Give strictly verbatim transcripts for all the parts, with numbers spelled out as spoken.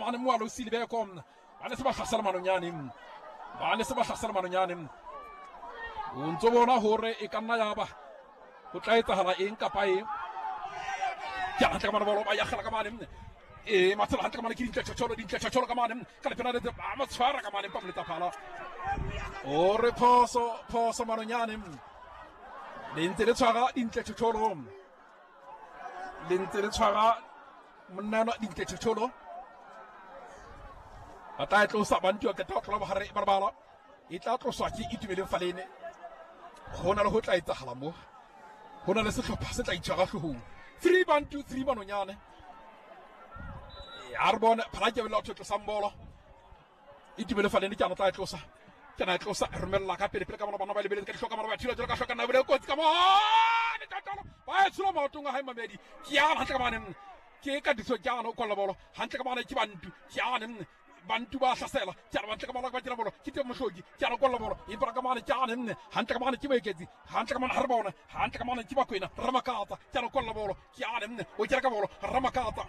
mane moalo Silibeko ba ne se ba hlasela Manonyane ba ne se ba hlasela Manonyane o ntso bona hore e ka nna ya ba ho tla etsahala eng kapa eng ke hantle ka mane bolo ba yakgela ka mane e matshelo hantle ka mane ke dintle tjhotjholo dintle tjhotjholo ka mane ka lepena le ba mo tshwara ka mane pa moletsa phala o re phoso phoso Manonyane le ntse le tshwara dintle tjhotjholo le ntse le tshwara monna dintle tjhotjholo ba tla tlosa Bantu a qeta ho tlola bohare ba bala e tla tloswa ke Itumeleng Falene ho na le ho tla etsahala mo ho na le sehlopha se tla itshwara hloohong three Bantu three Manonyane a re bone phala ke bela tlosang bolo Itumeleng Falene ke ana tla tlosa ke na tlosa romella ka pele pele ka bona bana ba lebeletse ka dihloka mara ba thula jalo ka hloka na bele kotsi ka mo le tatolo ba e tshola maotong a hae mamedi ke yana hantle ka mane ke ka diso ke yana o kolla bolo hantle ka mane ke Bantu ke yana Bantu ba hlasela ke ana hantle ka mane ba tira bolo ke teng mohloki ke ana kolla bolo empa ka mane ke ana nne hantle ka mane ke Moeketsi hantle ka mane ha re bona hantle ka mane ke Bakwena Ramakatsa ke ana kolla bolo ke ana nne o kera ka bolo Ramakatsa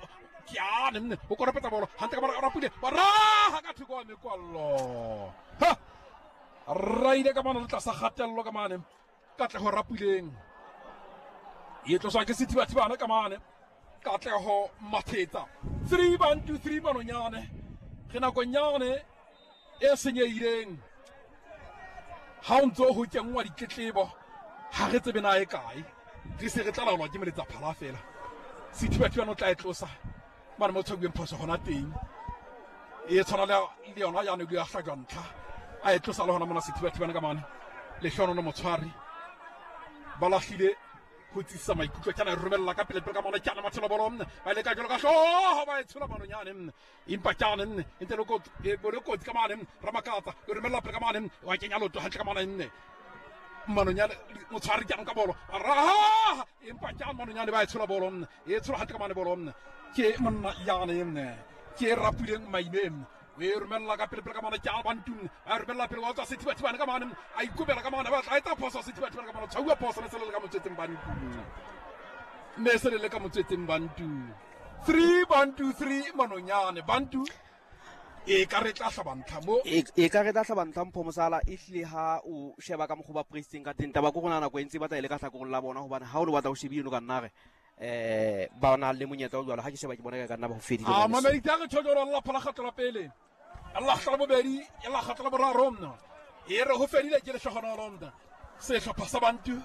ke ana nne o koropetsa bolo hantle ka mane Rapule ba raha ka thoko wa mekwallo ha raile ka mane le tlasa kgatello ka mane Katleho Rapuleng e tloswa ke Sethibathibana ka mane Katleho Mathetsa three Bantu three Manonyane re nakonyane e senyehileng ha o ntso ho kenngwa ditletlebo ha re tsebe na e kae re se re tla laolwa ke moletsa phala fela Sethibathibana o tla e tlosa mane mo tshwabueng phoso hona teng e tshwana le yona ya ne ya hlajwa ntlha a e tlosa le hona mona Sethibathibana ka mane Lehlono Motshwari ba lahlile ho tsisa maikutlo ke ana romella ka pele pele ka mona ke ana mathelo bolo ba le ka jalo ka hlooho ba e tshola Manonyane empa ke ana ntse le kotsi e bole kotsi ka mane Ramakatsa e romella pele ka mane wa kenya lotho hantle ka mane nne Manonyane Motshwari ke ana ka bolo raha empa ke ana Manonyane ba e tshola bolo e tshola hantle ka mane bolo ke monna yane nne ke Rapuleng Maime o e romella ka pele pele ka mane ke a Bantu a romella pele wa tswa Sethibathibane ka mane a ikobela ka mane ba tla etsa phoso Sethibathibane ka mane tshauwa phoso ne se le ka motswetseng Bantu ne se le ka motswetseng Bantu three Bantu three Manonyane Bantu e ka re tla hlaba ntlha mo e ka re tla hlaba ntlha Mpho Mosala e hlile ha o sheba ka mokgoba pressing ka teng taba ko rona nako e ntse ba tla ile ka hlakoreng la bona hobane ha o le batla o shebile no ka nna re eh ba na le monyetla o jwalo ha ke sheba ke bona ka nna ba ho fedile a mamedi ka re tjhojoro la phala kgatla pele Allah kgatla bobedi Allah kgatla boraro mna e re ho fedile ke lehlohonolo mna sehlopha sa Bantu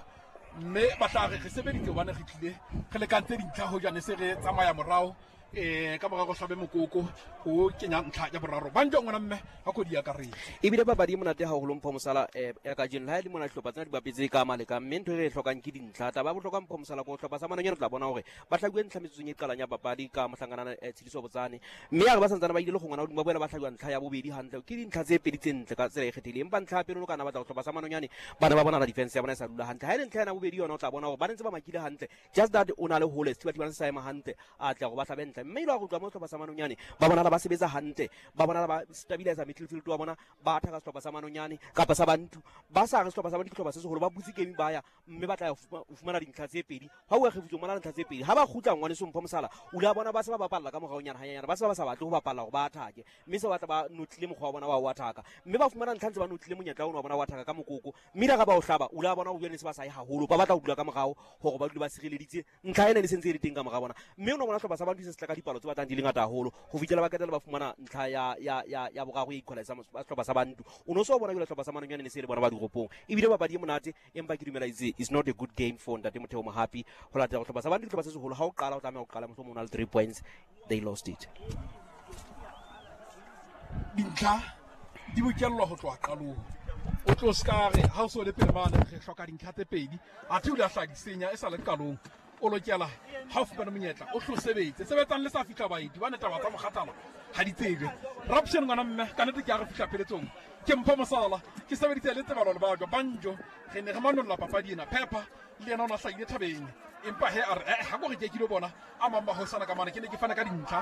mme ba tla re re sebeditse hobane re tlile re lekantse dintlha ho jane se re tsamaya morao eh ka morao hlabe mokoko o kenya ntlha ya boraro Banjo ngwana mme ha kodi ya karetse ebile papadi e monate haholo Mpho Mosala eh ya kajeno le ha e le mona dihlopha tsena di bapetse ka maleka mme ntho e re e hlokang ke dintlha taba ya bohlokwa Mpho Mosala ko hlopha sa Manonyane re tla bona hore ba hlabuwe ntlha metsotsong e qalang ya papadi ka mohlankana Tshidiso Botsane mme ya re ba santsane ba ile le go ngwana hodimo ba boela ba hlabuwa ntlha ya bobedi hantle ke dintlha tse pedi tse ntle ka tsela e kgethileng empa ntlha ya pele o kana batla go hlopha sa Manonyane bana ba bona la defense ya bona e sa dula hantle ha e le ntlha ya bobedi yona o tla bona hore ba ntse ba makile hantle just that o na le hole Sethibathibane se sa ema hantle a tla go ba hlabe ntle mme ile wa go utlwa mo sehlopha sa Manonyane ba bonala ba sebetsa hantle ba bonala ba stabilize midfield wa bona ba attack sehlopha sa Manonyane kapa sa Bantu ba sa re sehlopha sa Bantu ke sehlopha se seholo ba butse game ba ya mme ba tla ya fumana dintlha tse pedi ha o kgefutso mona dintlha tse pedi ha ba kgutla ngwaneso Mpho Mosala o la bona ba se ba bapalla ka moraonyana hanyanyana ba se ba sa batle ho bapalla hore ba attack mme se ba tla ba notlile mokgwa wa bona wa ho attack mme ba fumana ntlha ntse ba notlile monyetla ono wa bona wa attack ka mokoko mme la ga ba o hlaba o la bona o bjane se ba sa ye haholo ba batla ho dula ka morao hore ba dule ba sireleditse ntlha ena ne sentse e le teng ka mora bona mme o no bona sehlopha sa Bantu se se tla ka dipalo tse batlang di le ngata haholo ho fihlela ba qetella ba fumana ntlha ya ya ya ya boraro e equalize sehlopha sa Bantu o no so bona jwale sehlopha sa Manonyane ne se le bona ba diropong ebile papadi e monate empa ke dumela itse is not a good game for Ntate Motheo Mohapi ho latela sehlopha sa Bantu ke sehlopha se seholo ha o qala o tlameha ho qala mohlomong o na le three points they lost it dintlha di bokellwa ho tloha qalong o tlo ska re ha o so le pele mane re hloka dintlha tse pedi athe o le a hla di senya e sa le qalong o lokela ha o fumana monyetla o hlo sebetse sebetsang le sa fihla baeti ba ne taba tsa mokgathala ha di tsebe Raption ngwana mme ka nnete ke a re fihla pheletsong ke Mpho Mosala ke sebeditse le Tsebalo le Bajwa Banjo re ne re manolla papadi ena Pepper le yena o na hlahile thabeng empa he a re eh ha ko re ke kilo bona a mang mahosana ka mane ke ne ke fana ka dintlha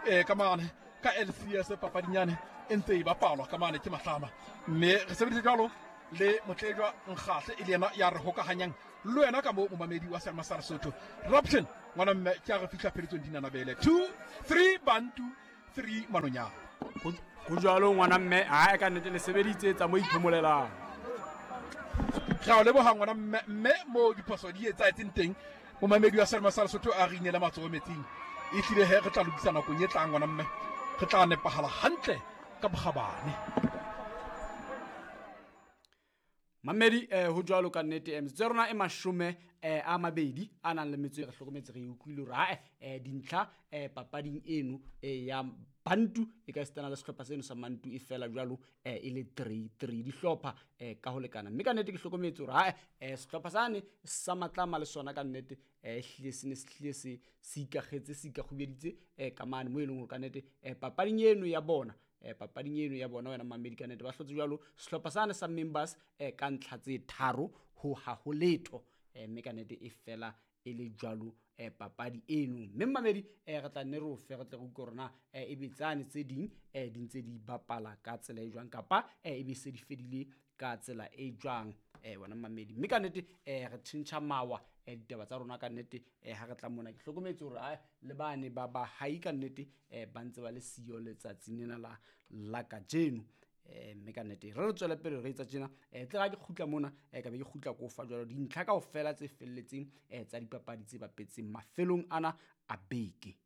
eh ka mane ka L C S papadinyane e ntse e bapalwa ka mane ke Mahlama mme re sebeditse jwalo le Motlejwa Nkgahle e le yena ya re hokahanyang le wena ka mo momamedi wa Selma sa Lesotho Raption ngwana mme ke a re fihla pheletsong dinanabele two three Bantu three Manonyane. Ho jwalo ngwana mme, ha ka nnete le sebeditse tsa mo iphomolelang. Re a leboha ngwana mme, mme mo diphoso di etsahetseng teng momamedi wa Selma sa Lesotho a re inele matsoho metsing. E hlile he re tla lokisa nakong e tlang ngwana mme, re tla nepahala hantle ka bokgabane. Mamedi eh ho jwalo ka nnete eh metsotso ya rona e mashome eh a mabedi a nang le metso e re hlokometse re utlwile hore ha eh dintlha eh papading eno eh ya Bantu e ka sitana le sehlopha seno sa Mantu e fela jwalo eh e le three three dihlopha eh ka ho lekana. Mme ka nnete ke hlokometse hore ha eh sehlopha sane sa Matlama le sona ka nnete eh hlile se ne se hlile se se ikakgetse se ikakgubeditse eh ka mane mo e leng hore ka nnete eh papading eno ya bona eh papading eno ya bona wena mamedi ka nnete ba hlotse jwalo sehlopha sane sa Members eh ka ntlha tse tharo ho ha ho letho eh mme ka nnete e fela e le jwalo eh papadi eno. Mme mamedi eh re tla nne re o fe re tle re utlwe hore na eh e betsane tse ding eh di ntse di bapala ka tsela e jwang kapa eh e be se di fedile ka tsela e jwang eh wena mamedi. Mme ka nnete eh re tjhentjha mawa eh ditaba tsa rona ka nnete eh ha re tla mona ke hlokometse hore a le bane ba ba hai ka nnete eh ba ntse ba le siyo letsatsing lena la la kajeno. Eh mme ka nnete re re tswele pele re etsa tjena eh tle ga ke kgutla mona eh ka be ke kgutla ko fa jwalo dintlha kaofela tse felletseng eh tsa dipapadi tse bapetseng mafelong ana a beke.